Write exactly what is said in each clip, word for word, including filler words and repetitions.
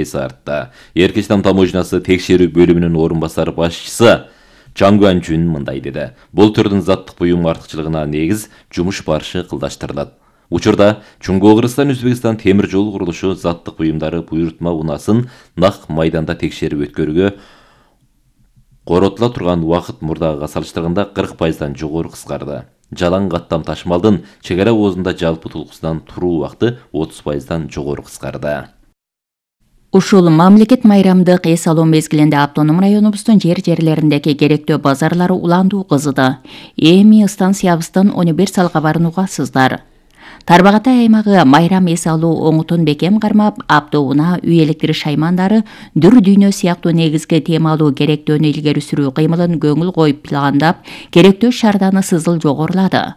эси артта. Эркечтан таможнясы текшерүү бөлүмүнүн орун басары башчысы Чан Гуанчжун мындай деди. Бул түрдүн заттык буюм артыкчылыгына негиз жумуш барышы кылдаштырылат. Учурда Чуңгу Кыргызстан Өзбекстан темир жол курулушу заттык буюмдары буйрутма унасын нак майданда текшерип өткөрүүгө коротула турган убакыт мурдагыга салыштырганда кырк пайыздан жогору кыскарды. Жалаң каттам ташмалдын чек ара оозунда жалпы тулкусунан туруу убакыты отуз пайыздан жогору кыскарды. Ушул мамлекет майрамдык эс алуу мезгилинде автоном районубуздун жер-жерлериндеги керектүү базарлары уландуу кызыды. Эми станциябыздын он бир салгабарын угасыздар. Тарбагатай аймагы майрам эс алуу оңутун бекем кармап, автоунаа, үй электр шаймандары, дүр дүйнө сыяктуу негизги темалуу керектөөнү илгери сүрүү кыймылын көңүл коюп пландап, керектөө шаарданы сызыл жогорулады.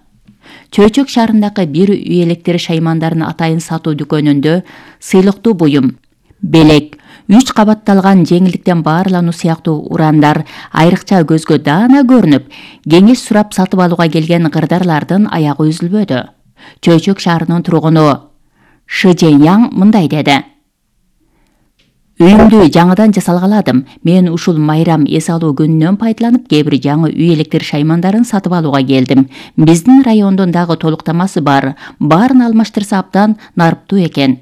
Чөйчөк шаарындагы бир үй электр шаймандарын атайын сатуу дүкөнүндө сыйлыктуу буюм, белек, үч кабатталган жеңилдиктен баарлануу сыяктуу урандар айрыкча көзгө даана көрүнүп, кеңеш сурап сатып алууга келген кырдарлардын аягы үзүлбөдү. Чөйчөк шаарынын тургуну Шы Жэньяң мындай деди. Үйүмдү жаңыдан жасалгаладым. Мен ушул майрам эс алуу күнүнөн пайдаланып, кээ бир жаңы үй электр шаймандарын сатып алууга келдим. Биздин райондун дагы толуктамасы бар. Баарын алмаштырса абдан нарыптуу экен.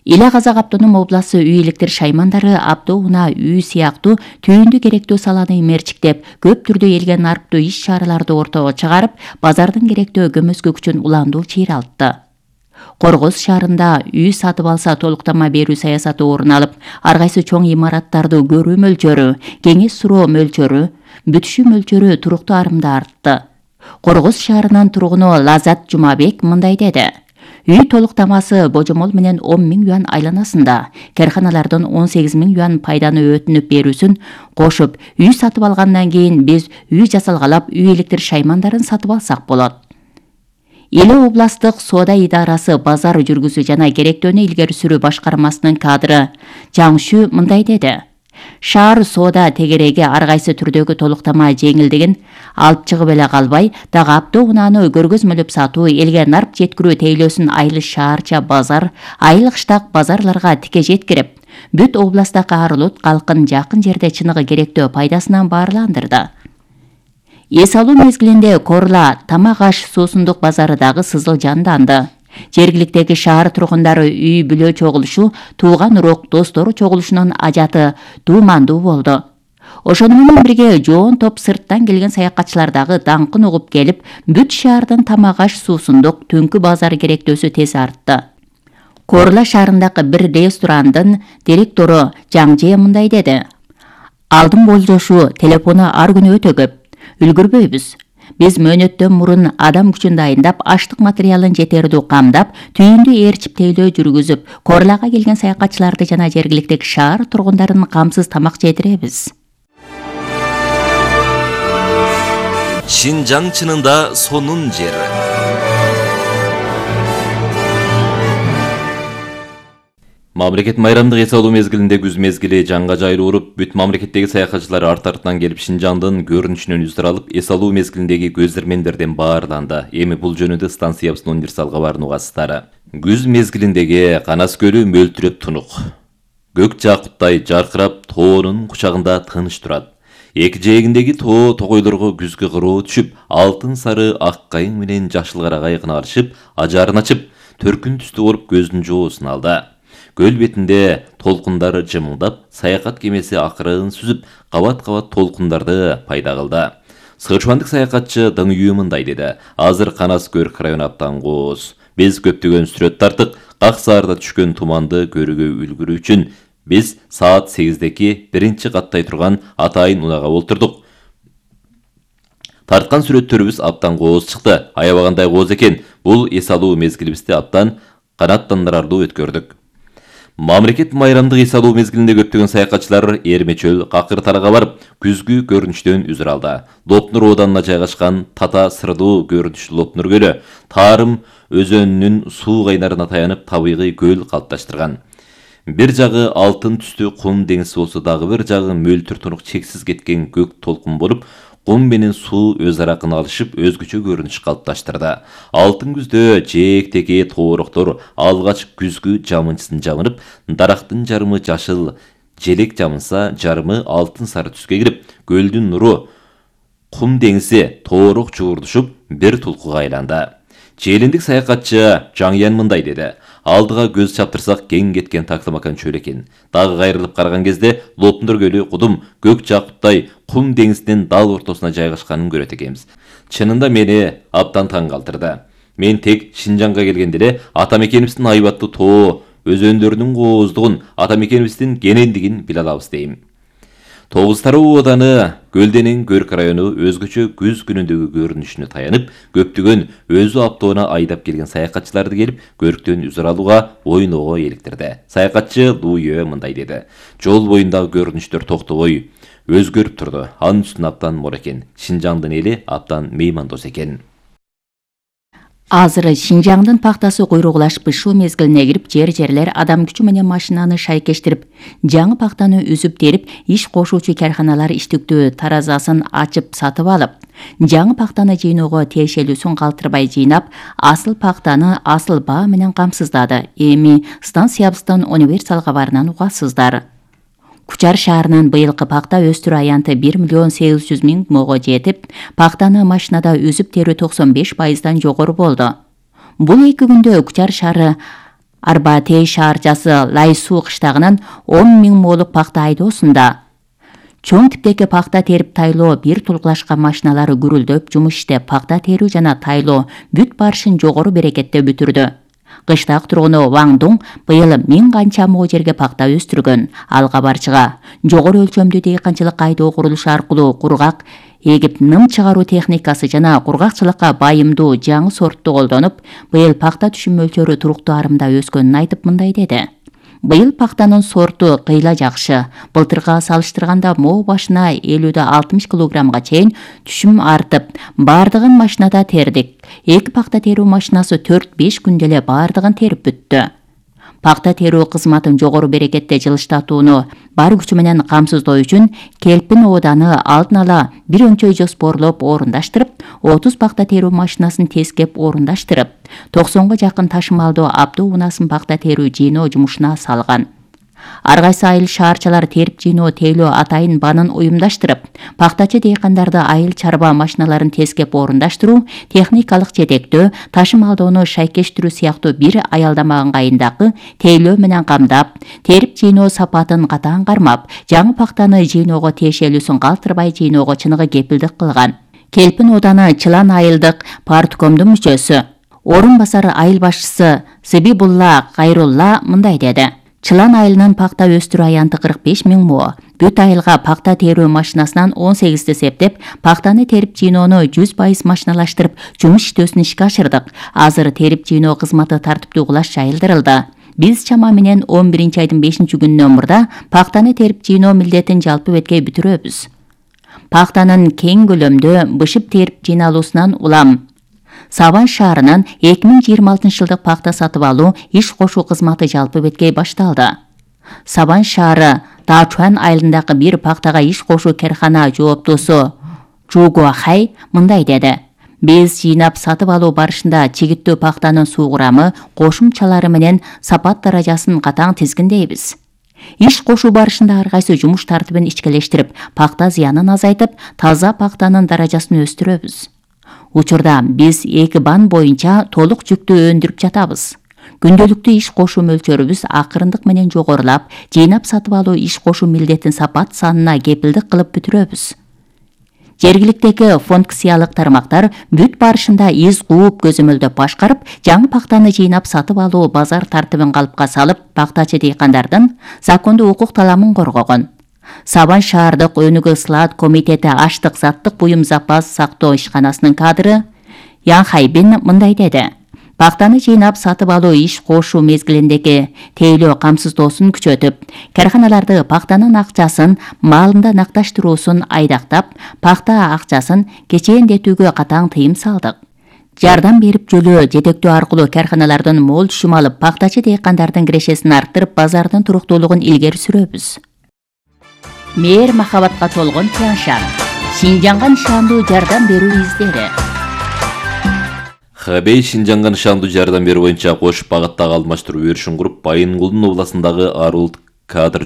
Иле Казак автоном обласы үй электр шаймандары автоунаа үй сыяктуу түйүндү керектүү саланы мерчиктеп, көп түрдүү элге нарыптуу иш-чараларды ортого чыгарып, базардын керектүү көмөскө күчүн уландуу чыйралтты. Коргоз шаарында үй сатып алса толуктама берүү саясаты орун алып, ар кайсы чоң имараттарды көрүү мөлчөрү, кеңеш суроо мөлчөрү, бүтүшүү мөлчөрү туруктуу арымда артты. Коргоз шаарынын тургуну Лазат Жумабек мындай деди. Үй толуктамасы божомол менен он миң юан айланасында, карханалардын он сегиз миң юан пайданы өтүнүп берүүсүн кошуп, үй сатып алгандан кийин биз үй жасалгалап, үй электр шаймандарын сатып алсак болот. Иле областык соода идарасы базар жүргүзүү жана керектөөнү илгери сүрүү башкармасынын кадры Жаңшү мындай деди. Шаар соода тегереги ар кайсы түрдөгү толуктама жеңилдигин алып чыгып эле калбай, дагы автоунааны көргөзмөлөп сатуу, элге нарп жеткирүү тейлөөсүн айыл шаарча базар, айыл кыштак базарларга тике жеткирип, бүт областтагы арылут калкын жакын жерде чыныгы керектөө пайдасынан баарландырды. Эс алуу мезгилинде Корла Тамак аш суусундук базары дагы сызыл жанданды. Жергиликтеги шаар тургундары үй бүлө чогулушу, тууган урок достору чогулушунун ажаты туумандуу болду. Ошону менен бирге жоон топ сырттан келген саякатчылар дагы даңкын угуп келип, бүт шаардын Тамак аш суусундук түнкү базары керектөөсү тез артты. Корла шаарындагы бир ресторандын директору Жаңже мындай деди. Алдын болжошу телефону ар күнү өтө көп. Үлгүрбөйбүз. Биз мөөнөттөн мурун адам күчүн дайындап, аштык материалын жетердүү камдап, түйүндү ээрчип тейлөө жүргүзүп, Корлага келген саякатчыларды жана жергиликтеги шаар тургундарын камсыз тамак жедиребиз. Шинжаң чынында сонун жер. Мамлекет майрамдык эс алуу мезгилинде күз мезгили жаңга жайлуу уруп, бүт мамлекеттеги саякатчылар арт-артынан келип Шинжаңдын көрүнүшүнөн үздүр алып, эс алуу мезгилиндеги көзөрмендерден баарланды. Эми бул жөнүндө станциябыздын универсал кабарын угасыздар. Күз мезгилиндеги Канас көлү мөлтүрөп тунук. Көк жакуттай жаркырап, тоонун кучагында тыныч турат. Эки жээгиндеги тоо тогойлорго күзгү кыроо түшүп, алтын сары ак кайың менен жашыл карагай кыналышып, ажарын ачып, төркүн түстүү болуп көздүн жоосун алды. Көл бетинде толкундары жымылдап, саякат кемеси акырын сүзүп, кабат-кабат толкундарды пайда кылды. Сычуандык саякатчы Дың Үй мындай деди. Азыр Канас көл району абдан кооз. Биз көптөгөн сүрөт тартык, как саарда түшкөн туманды көрүүгө үлгүрүү үчүн биз саат сегиздеки биринчи каттай турган атайын унаага олтурдук. Тарткан сүрөттөрүбүз абдан кооз чыкты. Аябагандай кооз экен. Бул эс алуу мезгилибизди абдан канааттандырарлуу өткөрдүк. Мамлекет майрамдык эс алуу мезгилинде көптөгөн саякатчылар Эрмечөл, Какыр тарага барып, күзгү көрүнүштөн үзүр алды. Лопнур ооданына жайгашкан Тата сырдуу көрүнүштүү Лопнур көлү Тарым өзөнүнүн суу кайнарына таянып табигый көл калыпташтырган. Бир жагы алтын түстүү кум деңиз болсо, дагы бир жагы мөлтүр тунук чексиз кеткен көк толкун болуп, Кум менен суу өз ара кыналышып өзгөчө көрүнүш калыпташтырды. Алтын күздө жээктеги тоороктор алгач күзгү жамынчысын жамынып, дарактын жарымы жашыл желек жамынса, жарымы алтын сары түскө кирип, көлдүн нуру кум деңизи тоорок чуурдушуп бир тулкуга айланды. Челиндик саякатчы Жаңыян мындай деди: алдыга көз чаптырсак кең кеткен Таклымакан чөл экен. Дагы кайрылып караган кезде Лопундор көлү кудум көк жакуттай кум деңизинин дал ортосуна жайгашканын көрөт экенбиз. Чынында мени абдан таң калтырды. Мен тек Шинжаңга келгенде эле ата мекенибиздин айбаттуу тоо өзөндөрүнүн кооздугун, ата мекенибиздин кенендигин биле алабыз дейм. Тогуз Тароо ооданы Көлденин Көрк району өзгөчө күз күнүндөгү көрүнүшүнө таянып, көптөгөн өзү аптоона айдап келген саякатчыларды келип, Көрктөн үзүр алууга, ойноого эликтирди. Саякатчы Луйө мындай деди: жол боюндагы көрүнүштөр токтобой өзгөрүп турду. Анын үстүнө абдан мол экен. Шинжаңдын эли абдан меймандос экен. Азыр Шинжаңдын пактасы куйругулашып бышуу мезгилине кирип, жер-жерлер адам күчү менен машинаны шайкештирип, жаңы пактаны үзүп терип, иш кошуучу карханалар иштиктүү таразасын ачып сатып алып, жаңы пактаны жыйноого тиешелүүсүн калтырбай жыйнап, асыл пактаны асыл баа менен камсыздады. Эми станциябыздын универсал кабарынан угасыздар. Кучар шаарынын быйылкы пакта өстүрүү аянты бир миллион сегиз жүз миң мого жетип, пактаны машинада үзүп терүү токсон беш пайыздан жогору болду. Бул эки күндө Кучар шаары Арбатей шаарчасы Лайсуу кыштагынан он миң молук пакта айдоосунда. Чоң типтеги пакта терип тайлоо бир тулгулашкан машиналары гүрүлдөп жумуш иштеп, пакта терүү жана тайлоо бүт барышын жогору берекетте бүтүрдү. Кыштак тургуну Ваң Дуң быйыл миң канча мо жерге пакта өстүргөн. Ал кабарчыга жогору өлчөмдүү дыйканчылык айдоо курулушу аркылуу кургак эгип ным чыгаруу техникасы жана кургакчылыкка байымдуу жаңы сортту колдонуп, быйыл пакта түшүм мөлчөрү туруктуу арымда өскөнүн айтып мындай деди: быйыл пактанын сорту кыйла жакшы. Былтырга салыштырганда мо башына элүүдөн алтымыш килограммга чейин түшүм артып, бардыгын машинада тердик. Эки пакта терүү машинасы төрт беш күндө эле бардыгын терип бүттү. Пакта терүү кызматын жогору берекетте жылыштатууну бар күчү менен камсыздоо үчүн Келпин ооданы алдын ала бир өңчөй жоспорлоп орундаштырып, отуз пакта терүү машинасын тескеп орундаштырып, токсонго жакын ташымалдуу абдуу унаасын пакта терүү жыйноо жумушуна салган. Ар кайсы айыл шаарчалар терип жыйноо тейлөө атайын банын уюмдаштырып, пактачы дыйкандарды айыл чарба машиналарын тескеп орундаштыруу, техникалык жетектөө, ташымалдоону шайкештирүү сыяктуу бир аялдама ыңгайындагы тейлөө менен камдап, терип жыйноо сапатын катаң кармап, жаңы пактаны жыйноого тиешелүүсүн калтырбай жыйноого чыныгы кепилдик кылган. Келпин ооданы Чылан айылдык парткомдун мүчөсү, орун басары айыл башчысы Сыбибулла Кайрулла мындай деди: Чылан айылынын пакта өстүрүү аянты кырк беш миң мо. Бүт айылга пакта терүү машинасынан он сегизди септеп, пактаны терип жыйноону жүз пайыз машиналаштырып, жумуш иштөөсүн ишке ашырдык. Азыр терип жыйноо кызматы тартиптүү кулаш жайылдырылды. Биз чама менен он биринчи айдын бешинчи күнүнөн мурда пактаны терип жыйноо милдетин жалпы бетке бүтүрөбүз. Пактанын кең көлөмдө бышып терип жыйналуусунан улам Сабан шаарынын эки миң жыйырма алтынчы жылдык пакта сатып алуу иш кошуу кызматы жалпы бетке башталды. Сабан шаары Таачуан айылындагы бир пактага иш кошуу кархана жооптуусу Жуго Хай мындай деди: биз жыйнап сатып алуу барышында чигиттүү пактанын суу курамы, кошумчалары менен сапат даражасын катаң тизгиндейбиз. Иш кошуу барышында ар кайсы жумуш тартибин ичкелештирип, пакта зыянын азайтып, таза пактанын даражасын өстүрөбүз. Учурда биз эки бан боюнча толук жүктү өндүрүп жатабыз. Күндөлүктүү иш кошуу мөлчөрүбүз акырындык менен жогорулап, жыйнап сатып алуу иш кошуу милдетин сапат санына кепилдик кылып бүтүрөбүз. Жергиликтеги функциялык тармактар бүт барышында из кууп көзөмөлдөп башкарып, жаңы пактаны жыйнап сатып алуу базар тартибин калыпка салып, пактачы дыйкандардын закондуу укук таламын коргогон. Сабан шаардык өнүгүү сылаат комитети аштык заттык буюм запас сактоо ишканасынын кадры Ян Хайбин мындай деди: пактаны жыйнап сатып алуу иш кошуу мезгилиндеги тейлөө камсыздоосун күчөтүп, карханаларды пактанын акчасын маалында накташтыруусун айдактап, пакта акчасын кечээндетүүгө катаң тыйым салдык. Жардам берип жөлөө жетектөө аркылуу карханалардын мол түшүм алып, пактачы дыйкандардын кирешесин арттырып, базардын туруктуулугун илгери сүрөбүз. Мээр махабатка толгон Тянь Шань. Шинжаңга нышандуу жардам берүү издери. Хэбэй Шинжаңга нышандуу жардам берүү боюнча кош багыттагы алмаштыруу өрүшүн куруп, Байынгулдун областындагы Арулт кадр